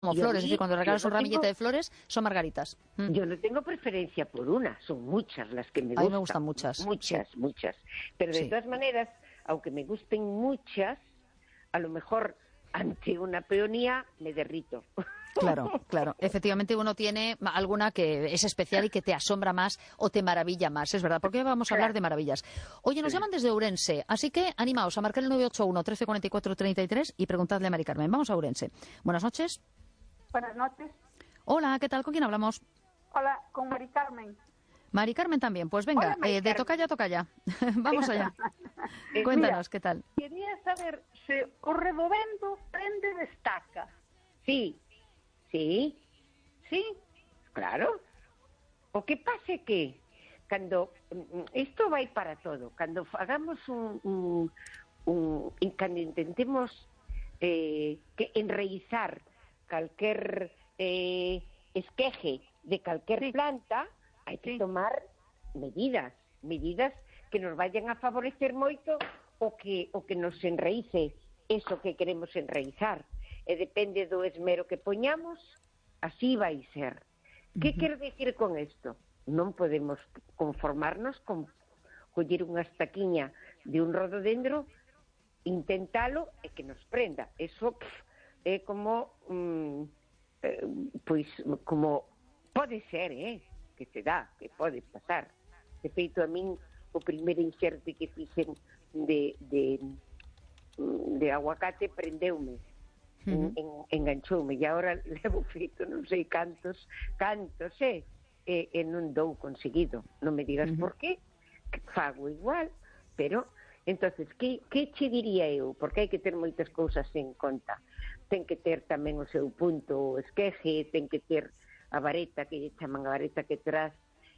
como Y a flores, es decir, mí, cuando yo regalas un no ramillete tengo, de flores, son margaritas. yo no tengo preferencia por una, son muchas las que me A mí me gustan, gustan muchas, sí, muchas, muchas. Pero de sí. todas maneras, aunque me gusten muchas, a lo mejor ante una peonía me derrito. Claro, claro. Efectivamente, uno tiene alguna que es especial y que te asombra más o te maravilla más, es verdad, porque hoy vamos a hablar Claro, de maravillas. Oye, nos claro. llaman desde Ourense, así que animaos a marcar el 981 1344 33 y preguntadle a Mari Carmen. Vamos a Ourense. Buenas noches. Buenas noches. Hola, ¿qué tal? ¿Con quién hablamos? Hola, con Mari Carmen. Mari Carmen también. Pues Hola, venga, Mari de Carmen. tocalla. Vamos allá. Mira, Cuéntanos, ¿qué tal? quería saber se o redovendo prende destaca. Sí, sí, Sí? claro. O que pase que cando isto vai para todo, cando hagamos cando intentemos que enraizar calquer esqueje de calquer Sí, planta, hai que sí. tomar medidas que nos vayan a favorecer moito o que nos enraíce eso que queremos enraizar. E depende do esmero que poñamos, así vai ser. Que quero dicir con isto? Non podemos conformarnos con coller unha estaquiña de un rododendro, intentalo e que nos prenda. Eso é como pois como pode ser, que se dá, que pode pasar. De feito, a min o primeiro inxerte que fixen de aguacate prendeume, enganchoume, e agora levo feito non sei cantos, e non dou conseguido. Non me digas por qué, que fago igual, pero entonces, que che diría eu? Porque hai que ter moitas cousas en conta. Ten que ter tamén o seu punto o esqueje, ten que ter a vareta, que lle chaman a vareta que tras,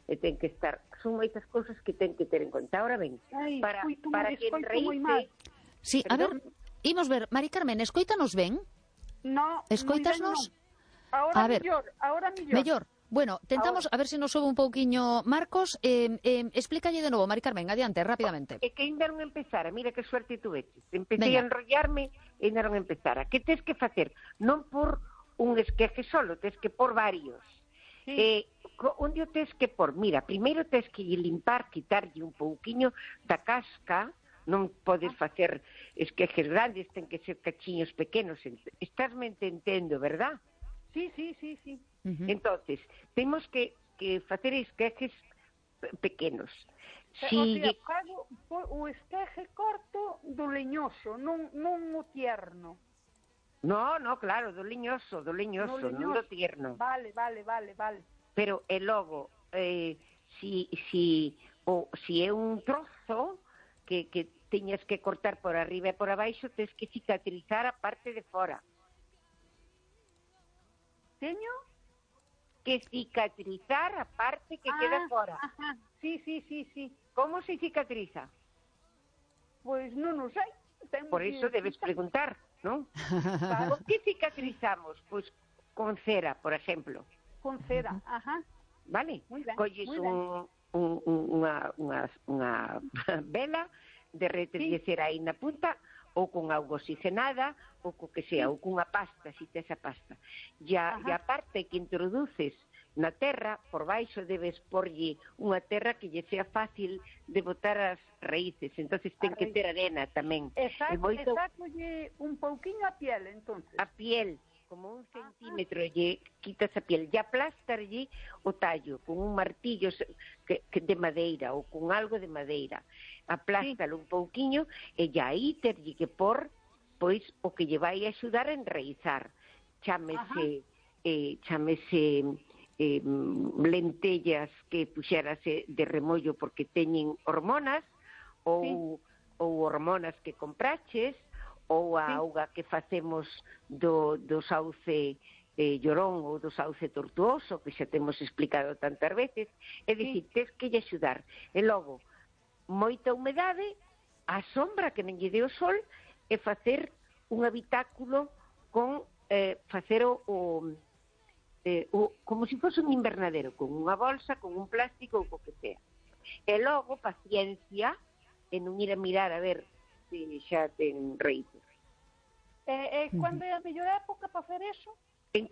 e ten que estar... Son moitas cousas que ten que ter en conta. Ahora ben, Ai, para que escoito moi mal. enraíce... Sí, a ver, imos ver. Mari Carmen, escoítanos ben? No, Escoítasnos? Ahora A ver, mellor. mellor. Bueno, tentamos a ver se nos sobe un pouquiño Marcos. Explícalle de novo, Mari Carmen, adiante, rapidamente. É que ainda non empezara, mira que suerte tuveches. Empecé Veña. a enrollarme e ainda non empezara. Que tes que facer? Non por un esqueje solo, tes que por varios. Sí. Onde o tes que por? Mira, primeiro tes que limpar, quitarlle un pouquiño da casca, non podes facer esquejes grandes, ten que ser cachiños pequenos. Estásme entendendo, verdad? Sí. Entonces, temos que facer esquejes pequenos. O sea, fago o esqueje corto do leñoso, non o tierno. No, claro, do leñoso, non do tierno. Vale. Pero e logo, si é un trozo que teñas que cortar por arriba e por abaixo, tens que cicatrizar a parte de fora. Teño? Que cicatrizar a parte que queda fora. Ajá. Sí. Como se cicatriza? Pois non o sei. Por iso debes preguntar, non? Claro. Con que cicatrizamos? Pois con cera, por exemplo. Con cera, ajá. Vale? Muy ben, Colles muy ben. unha vela, derretes cera aí na punta, ou con auga oxigenada, ou co que sea, ou cunha pasta, si tes a pasta. E a parte que introduces na terra, por baixo debes porlle unha terra que lle sea fácil de botar as raíces, entonces ten que ter arena tamén. Exactolle un pouquiño a piel, entonces. A piel, como 1 centímetro, lle quitas a piel, e aplastarlle o tallo con un martillo que de madeira ou con algo de madeira. Aplástalo un pouquiño e aí terlle que por pois o que lle vai axudar a enraizar. Chámese lentellas que puxérase de remollo porque teñen hormonas ou hormonas que compraches ou a auga que facemos do sauce llorón ou do sauce tortuoso, que xa temos explicado tantas veces. É dicir, tes que lle axudar. E logo, moita humedade, a sombra que non lle dé o sol, e facer un habitáculo con facer como se fose un invernadero, con unha bolsa, con un plástico ou co que sea. E logo, paciencia, e non ir a mirar a ver se xa ten raíces. Cando é a mellor época para facer eso? En